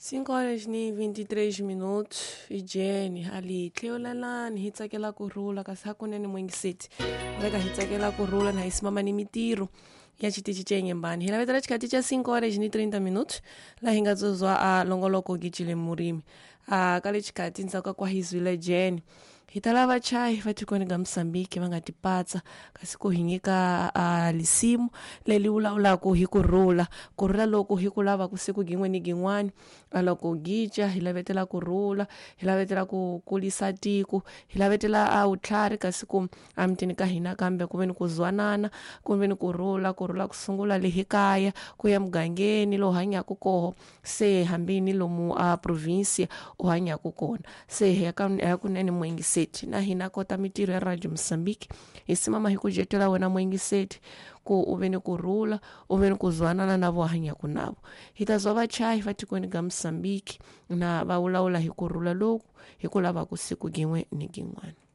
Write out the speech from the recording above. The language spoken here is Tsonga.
5 horas ni 23 minutos i Jeni ali tlheolalani hi tsakela ku rhula kasi hakunene mwingiseti veka hi tsakela ku rhula na hi simama ni mitirho ya xitichi xa Inhambane. Hi lavetela xikhathi xa 5 horas ni 30 minutos laha hi nga tsozwa a longoloko gijile murimi a ka le xikhathi ndzhaku ka kwahizwile Jeni hi ta lava chayi va tikweni ka Mozambique va nga tipatsa kasi ku hi nyika a lisimu leri vulavulaka hi ku rhula, ku rhula loku hi ku lava ku siku gin'we ni gin'wani a loko gica hi lavetela ku rhula, hi lavetela ku kulisa tiko, hi lavetela a vutlhari kasi ku emutini ka hina kambe ku ve ni ku zwanana, ku ve ni ku rhula, ku rhula ku sungula le hi kaya ku ya mugangeni lowu hanyaka koho se hambi ni lomu a provinsia u hanyaka kona se hi ya ka kunene muingiseti na hina kota mitirho ya Radio Mozambique hi simama hi ku jetela wena muingiseti ku u ve ni ku rhula, u ve ni ku zwanana na vo hanyaka navo. Hi ta zwa vachayi va tikweni ka Mozambique na va vulavula hi ku rhula loku hi ku lava ku siku gin'we ni gin'wana.